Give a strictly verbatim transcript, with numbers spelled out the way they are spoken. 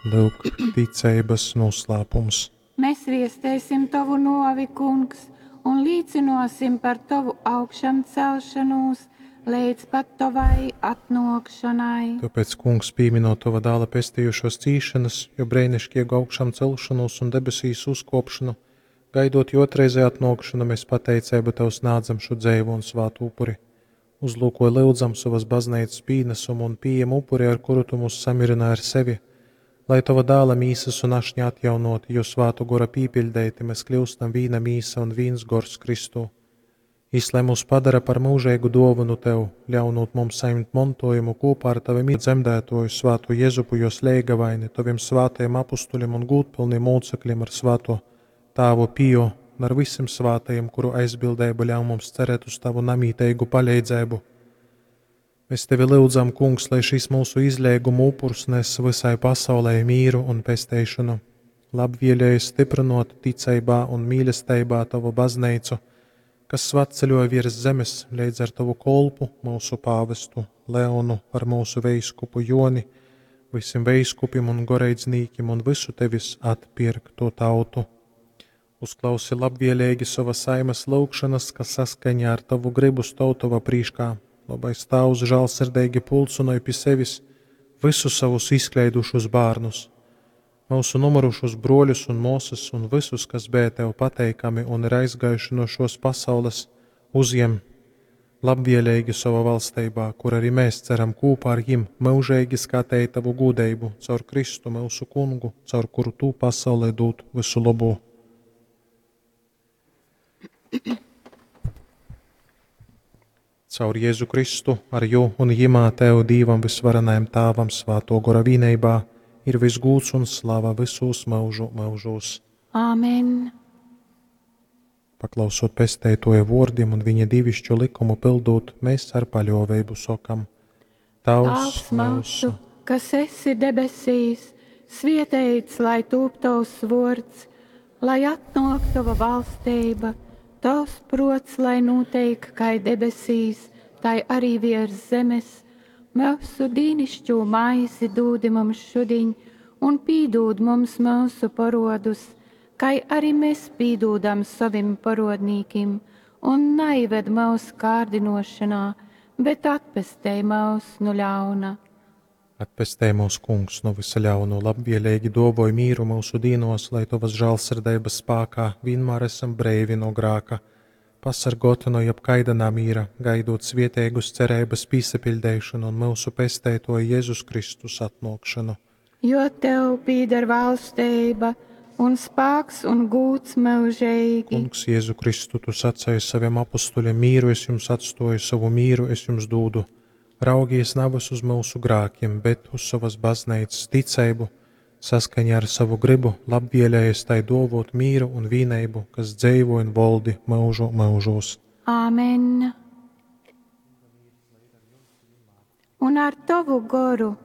Lyuk, ticeibas noslēpums. Mēs viestēsim Tovu novi, Kungs, un līcinosim par Tovu augšamcelšanos līdz pat Tavai atnākšanai. Tāpēc, Kungs, pieminot Tava dēla pestījušos cīšanas, jo brēnišķīgu augšām celšanos un debesīs uzkopšanu, gaidot jo otrreizē atnākšanu, mēs pateicību Tev snādzam šo dzēvu un svātu upuri. Uzlūko lyudzam savas baznīcas pīnesumu un pieejam upuri, ar kuru Tu mūs samierināji ar sevi, lai Tava dēla mīsas un ašņa atjaunoti, jo svātu gora pīpiļdeiti, mēs kļūstam vīna mīsa un vīns gors Kristū. Jis, lai mūs padara par mūžīgu dāvanu Tev, ļaunot mums saņemt mantojumu kopā ar Tavim dzemdētoju svātu Jezupu, jos leigavaini, Taviem svātajiem apustuļiem un gūtpilniem mūcekļiem ar svāto Tāvu Pio un ar visiem svātajiem, kuru aizbildība ļauj mums cerēt uz Tavu namītīgu palīdzību. Mēs Tevi lūdzam, Kungs, lai šis mūsu izlēguma upurs nes visai pasaulē mīru un pesteišanu, labvēlēji stiprinot ticībā un mīlestībā Tavu baznīcu, kas svatceļoja virs zemes līdz ar Tavu kolpu, mūsu pāvestu Leonu, ar mūsu veiskupu Joni, visiem veiskupiem un goreidznīkiem un visu Tevis atpirkto tautu. Uzklausi labvēlīgi savas saimas lūgšanas, kas saskaņā ar Tavu gribu stāv Tava prīškā. Labais Tēvs žēlsirdīgi pulcinoja pie sevis visus savus izkleidušus bērnus, mūsu numurušus broļus un mūsas un visus, kas bija Tev pateikami un ir aizgājuši no šos pasaules, uzjem labvēlīgi savā valstībā, kur arī mēs ceram kopā ar viņiem mūžīgi skatīt Tavu gudrību caur Kristu mūsu kungu, caur kuru Tu pasaulē dod visu labo. Caur Jēzu Kristu, ar Jū un Jimā Tev Dīvam visvarenajam Tāvam svāto gora vīneibā ir visgūts un slava visos mūžu mūžos. Āmen! Paklausot pesteitoja vārdiem un viņa divišķo likumu pildot, mēs ar paļāvību sokam: Tavs Tēvs mūsu, kas esi debesīs, svietēts, lai tūp tavs vārds, lai atnāk tava valstība, tavs prots, lai notiek kā debesīs, tai arī virs zemes. Mūsu dīnišķo maizi dūdi mums šodien, un pīdūd mums mūsu parodus, kai arī mēs pīdūdam savim parodnīkim, un naived mūsu kārdinošanā, bet atpestej mūs no ļauna. Atpestē mūs, Kungs, no visa ļauno, labvēlīgi dovoj mīru mūsu dīnos, lai Tavas žēlsirdības spēkā vienmēr esam breivi no grāka, pasargoti no jebkaida namīra, gaidot svietēgus cerības pīsapildēšanu un mūsu pestētoja Jēzus Kristus atnākšanu. Jo Tev pīder valstība un spēks un gūts mūžīgi. Kungs, Jēzu Kristu, Tu sacēji saviem apustuļiem, mīru es jums atstoju, savu mīru es jums dūdu. Raugies nevis uz mūsu grākiem, bet uz savas baznīcas ticību, saskaņā ar savu gribu, labvēlējies tai dovot mīru un vīnību, kas dzīvo un valdi mūžu mūžos. Āmen! Un ar Tavu goru.